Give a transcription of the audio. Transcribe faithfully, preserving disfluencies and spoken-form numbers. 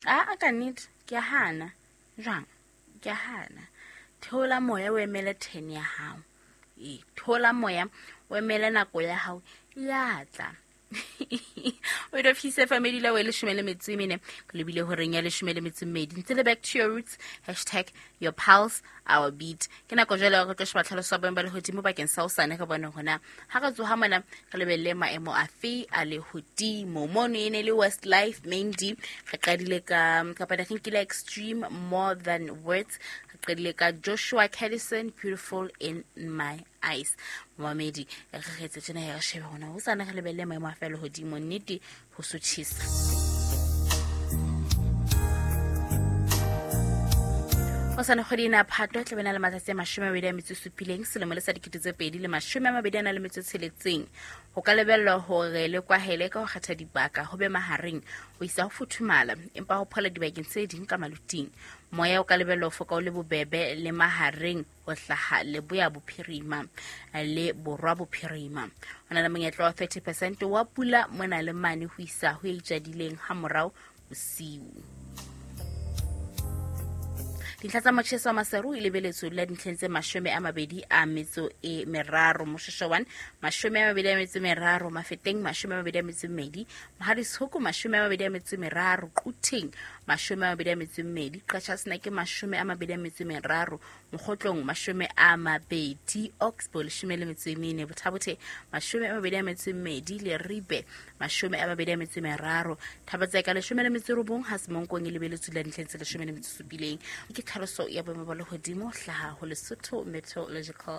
A ka nnete ke a hana. Jwang? Ke a hana. Theola moya o emele ten ya hao. E theola moya o emele nako ya hao ya tla. O do fise family la we leshome le metso e mene ke lebile horeng ya leshome le metso e mmedi. Ntse le back to your roots, hashtag your pulse our beat. Ke nako jwale ya re tlo sheba tlhaloso ya boemo ba lehodimo bakeng sa hosane, re bone hona ha re tsoha mona re lebelle maemo afe a lehodimo. Mono e ne le Westlife Main D, re qadile ka kapa re nkile Extreme More Than Words, re qadile ka Joshua Kadison Beautiful in My Eyes. Momamedi re kgetse tjena ya re shebe hona hosane re lebelle maemo a fe lehodimo, nnete ho sotjhisa. Hosane kgwedi ena Phato e tla be na le matsatsi a mashome a mabedi a metso e supileng selemo le sa dikete tse pedi le mashome a mabedi a na le metso e tsheletseng. Ho ka lebellwa hore le kwahele ka ho kgetha dibaka ho be mahareng ho isa ho futhumala, empa ho phola dibakeng tse ding ka maluting. Moya o ka lebellwa ho foka o le bobebe le mahareng ho hlaha leboya bophirima le borwa bophirima. Ho na le monyetla wa thirty percent wa pula mona le mane ho isa ho e itjadileng ha morao bosiu. Dintlha tsa motjheso wa Maseru e lebeletswe la dintlheng tse mashome a mabedi a metso e meraro, Moshoeshoe one mashome a mabedi a metso e meraro, Mafeteng mashome a mabedi a metso e mmedi, Mohaditshoku mashome a mabedi a metso e meraro, Quthing mashome a mabedi a metso e mmedi, Qachaseneke mashome a mabedi a metso e meraro, Mokgotlong mashome a mabedi, Oxbow leshome le metso e mene, Bothabothe mashome a mabedi a metso e mmedi, Leribe mashome a mabedi a metso e meraro, Thabatseka leshome le metso e robong, ha Semonkong e lebeletswe la dintlheng tse leshome le metso e supileng. Ke tlhaloso ya boemo ba lehodimo hlaha ho Lesotho Meteorological